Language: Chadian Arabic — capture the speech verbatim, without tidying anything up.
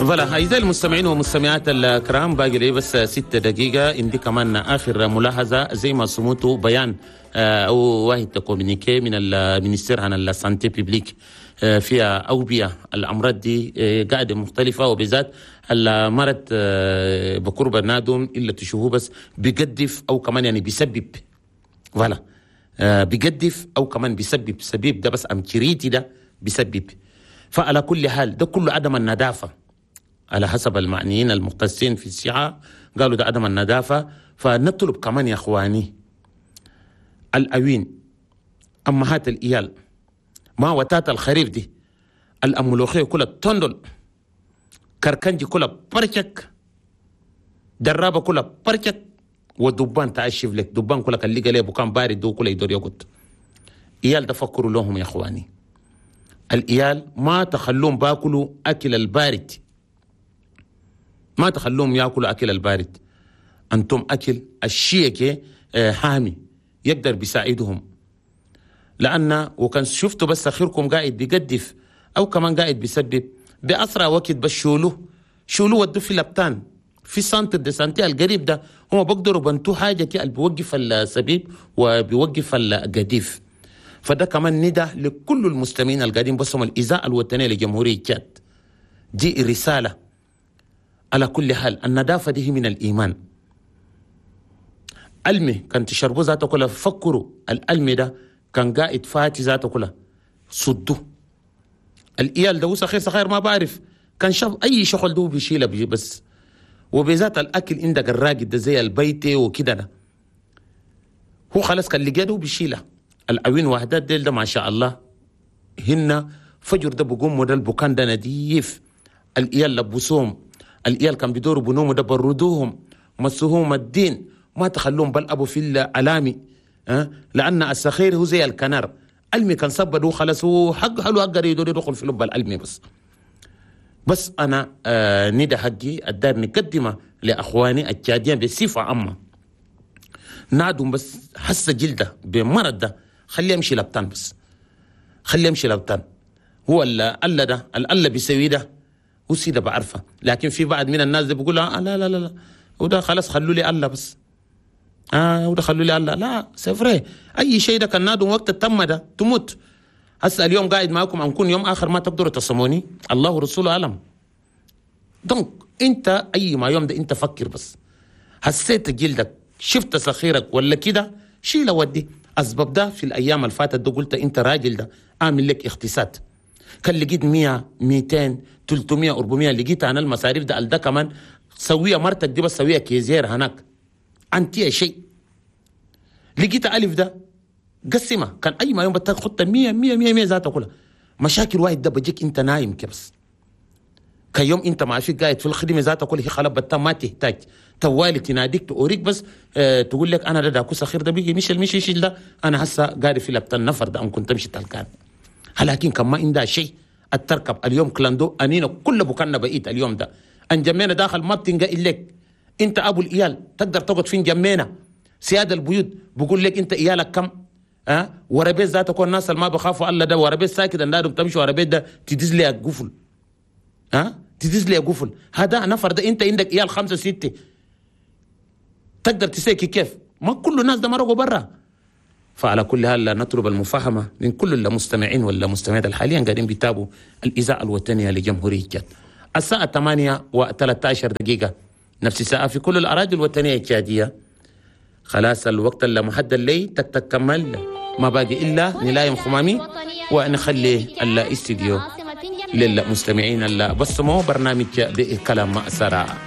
voilà أعزائي المستمعين والمستمعات الكرام، باقي لي بس ست دقيقة. عندي كمان آخر ملاحظة، زي ما سمعتوا بيان آه، أو واحد communiqué من ال ministère عن ال santé publique آه، فيها أوبئة الأمراض دي آه، قاعدة مختلفة، وبالذات المرض آه، بقرب النادم إلا تشوفوه بس بيقدف أو كمان يعني بيسبب، voilà آه، بيقدف أو كمان بيسبب، سبيب ده بس أم كريتي ده بيسبب. فعلى كل حال ده كله عدم النظافة، على حسب المعنيين المختصين في الصحة قالوا ده عدم النظافة. فنطلب كمان يا اخواني الأوين أمهات الإيال، ما وتات الخريف دي الأملوخية كلها تندل، كركنجي كلها برشك، درابة كلها برشك، والدبان تعشف لك دبان كلها كان لقى ليه بكان بارد دو كلها يدور يقط. إيال تفكروا لهم يا اخواني، الإيال ما تخلوهم باكلوا أكل البارد، ما تخلوهم ياكلوا أكل البارد. أنتم أكل الشيء آه، حامي يقدر بيساعدهم، لأن وكان شفتوا بس أخيركم قاعد بيقدف أو كمان قاعد بيسبب بأسرع وقت، بس شولوه شولوه ودوه في لبتان في centre de santé القريب ده، هم بيقدروا بنتو حاجة كي اللي بيوقف السبيب وبيوقف القديف. فده كمان ندى لكل المستمعين القاعدين بسمعوا الإذاعة الوطنية لجمهورية تشاد، دي رسالة. على كل حال النظافة دي هي من الإيمان. المي كان تشربوا ذاته كلها فكروا، الألمي ده كان قاعد فاتي ذاته كلها صدوا. الإيال ده صغير صغير ما بعرف كان شاف أي شغل ده بيشيله بيجي بس، وبذات الأكل عندك الراقد ده زي البيت وكده ده هو خلاص كان لقيته بيشيله. العوين وحدات ديل ده ما شاء الله هن فجر ده بقوم ده البكان ده نديف، الإيال لبسوهم، الإيال كان بيدوروا بنوم ده بردوهم، مسوهم الدين، ما تخلوهم بلعبوا في العلامي أه؟ لأن السخير هو زي الكنار المي كان صبد خلاص هو حق حلو أقدر يدور يدخل في لب الألمي بس. بس أنا آه ندى حقي الدار نقدمه لأخواني التشاديين بصفة عامة، نادم بس حس جلده بمرض ده خليه يمشي لبتان، بس خليه يمشي لبتان. هو الألا ده الألا بيسوي ده هو سيده بعرفه، لكن في بعض من الناس ده بيقول آه لا لا لا لا وده خلاص خلوا لي الله بس، اه وده خلوا لي الله. لا c'est vrai اي شيء ده كان نادم وقت التم ده تموت. هسه اليوم قاعد معكم انكون يوم اخر ما تقدروا تصموني، الله ورسوله اعلم. donc انت اي ما يوم ده انت فكر بس، حسيت جلدك شفت سخيرك ولا كده شيله ودي. اسباب ده في الايام اللي فاتت ده قلت انت راجل ده اعمل لك اختصاد، كان لقيت مية ميتين تلتمية أربعمية لقيت انا المصاريف ده ده كمان سويه مرتك دي بس سويه caissière هناك انت شيء لقيت ألف ده قسمه كان اي ما يوم بتاخد مية مية مية مية ذاتها كلها مشاكل واحد ده بجيك انت نايم كبس كيوم انت ما فيك قاعد في الخدمة ذاتها كلها هي خلاص بتا ما تحتاج توالي تناديك توريك بس اه تقول لك انا ده داكو سخير ده بيجي مش مش يشيل ده انا هسه قاعد في لبت النفر ده كنت تمشي تلقان. لكن كان ما عندها شيء التركب اليوم clando انينا كل بكنا بقيت اليوم ده انجمينا داخل ما بتنقى لك انت ابو الايال تقدر تقعد فين جمينا سياد البيوت بقول لك انت ايالك كم ها أه؟ وربيت ذاته كون الناس اللي ما بخافوا الله ده وربيت ساكت النادم تمشي وربيت ده تدز لي قفل ها أه؟ تدز لي قفل هذا نفر ده انت عندك ايال خمسة ستة تقدر تسيكي كيف؟ ما كل الناس ده مرقوا برا. فعلى كل حال نطلب المفاهمة من كل المستمعين والمستمعات الحاليا قاعدين بيتابعوا الإذاعة الوطنية لجمهورية تشاد. الساعة ثمانية وثلاثة عشر دقيقة نفس الساعة في كل الأراضي الوطنية التشادية. خلاص الوقت اللي محدد لي تك تك كمل، ما باقي إلا نلايم خمامي ونخلي الاستديو للمستمعين اللي بسموا برنامج بكلام سراء.